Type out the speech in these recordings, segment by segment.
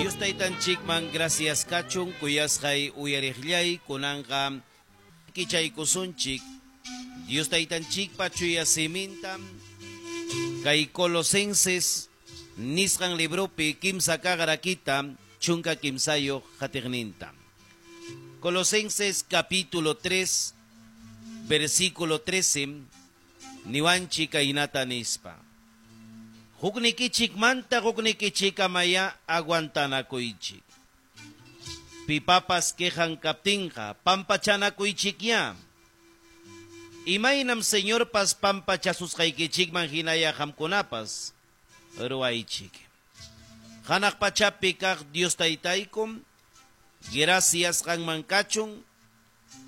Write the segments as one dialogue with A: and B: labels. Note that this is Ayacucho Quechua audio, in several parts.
A: Dios taytanchikman gracias kachun kuyasqay uyariqllay kunanqa kichaykusunchik Dios taytanchikpa chuya siminta kay Colosenses nisqan libropi kimsa kaq rakita 13 qatiqninta. Colosenses capítulo 3 versículo 13 niwanchik kaynata nispa. Huknikichikmanta huknikichikamaya aguantanakuychik. Pipapas quejan kaptinqa pampachanakuychikya. Imaynam Señorpas pampachasusqaykichikman hinaya qamkunapas ruwaychik. Hanaq pachapi kaq Dios taytaykum, gracias qanman kachun,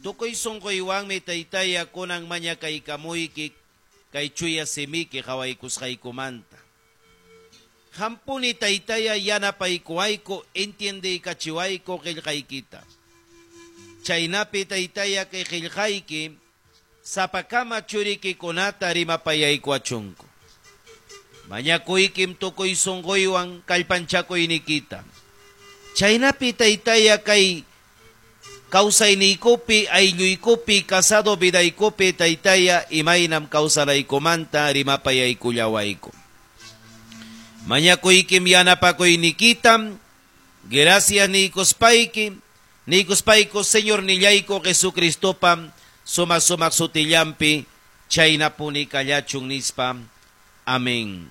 A: tukuy sunquywanmi taytaya kunan mañakaykamuyki kay chuya simiki qawaykusqaykumanta. Hampuni taytaya yanapaykuwayku entiendeykachiwayku qillqaykita. Chaynapi taytaya kay qillqayki sapakama churikikunata rimapayaykuwachunku. Mañakuykim tukuy sunquywan kallpanchakuynikita. Chaynapi taytaya kay kawsayniykupi, aylluykupi, casado vidaykupi taytaya imaynam kawsanaykumanta rimapayaykullawayku. Mañakuykim yanapakuynikitam, gracias niykuspayki, niykuspayku Señor nillayku Jesucristopam sumaq sumaq sutillampi chaynapuni kallachun nispa. Amén.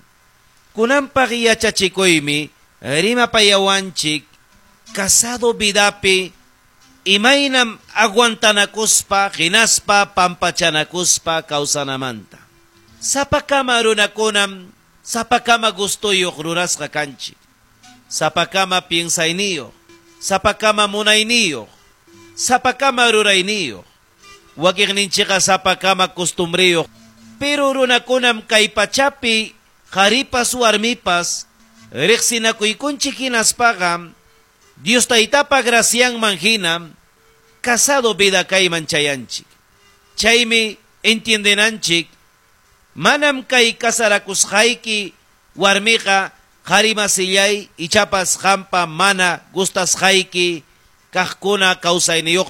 A: Kunanpaq yachachikuymi rimapayawanchik casado vidapi imaynam aguantanakuspa hinaspa pampachanakuspa kawsanamanta. Sapakama runakunam sapakama gustuyuq rurasqa kanchik. Sapakama piensayniyuq, sapakama munayniyuq, sapakama rurayniyuq. Wakiqninchikqa sapakama costumbriyuq. Pero runakunam kay pachapi qharipas warmipas riqsinakuykunchik hinaspaqa Dios taytapa gracianman hina casado vida kayman chayanchik. Chaymi entiendenanchik manam kay casarakusqayki warmiqa qharimasillay ichapas qampa mana gustasqayki kaqkuna kawsayniyuqta.